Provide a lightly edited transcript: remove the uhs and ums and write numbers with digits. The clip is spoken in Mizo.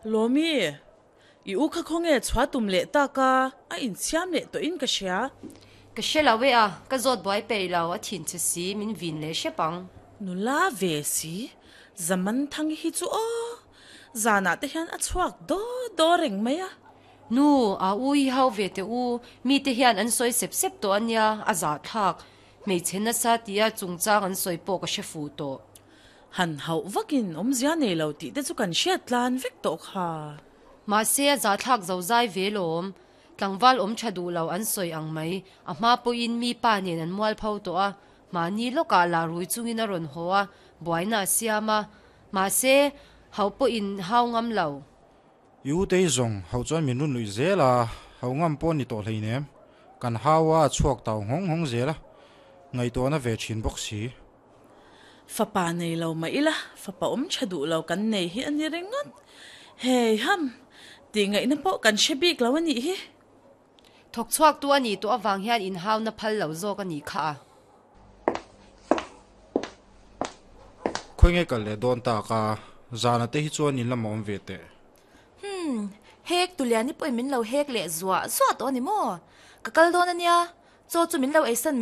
Lawmi, i u kha khawnge chhuah tum leh tak a, a insiam leh tawhin ka hria. Ka hre lo e a, ka zawt buai peih lo, a thin che si, min vin leh hrep ang. Nula ve si, Zaman Thangi hi chu aw, zanah te hian a chhuak daw daw reng mai a. Nu, a u hi hau ve teh u, mite hian an sawi sep sep tawh a nia, a zahthlak. Hmeichhe nasa tia chungchang an sawi pawh ka hre fuh tawh. Han hauh vakin awmzia nei lo tih te chu kan hriat tlan vek tawh kha. Mahse a zahthlak zo zai ve lawm. Tlangval awm tha duh lo an sawi ang mai. A hma pawhin mi pa nen an mualpho tawh a, mahni lawkah lah rui chungin a rawn haw a, buaina a siam a. Mahse, hauh pawhin hau ngam lo. I u te hi zawng hauh chuan min run luih zel a, hauh ngam pawh a ni tawh hleinem. Kan hau a, a chhuak tau nghawng nghawng zel a, ngaihtuahna ve thin bawk si. Fapa nei lo mah ila, fapa awm tha duh lo kan nei hi a ni ringawt. Hei ham, tih ngaihna pawh kan hre bik lo a nih hi. Thawk chhuak tu a nih tawh avang hian inhauna phal lo zawk a nih kha a. Khawi nge kal leh dawn tak a, zana te hi chuan in lamah awm ve teh. Hmm, hek Tuliani pawhin min lo hek leh zuah zuah tawh a ni maw? Ka kal dawn a nia, chaw chu min lo eisan mai.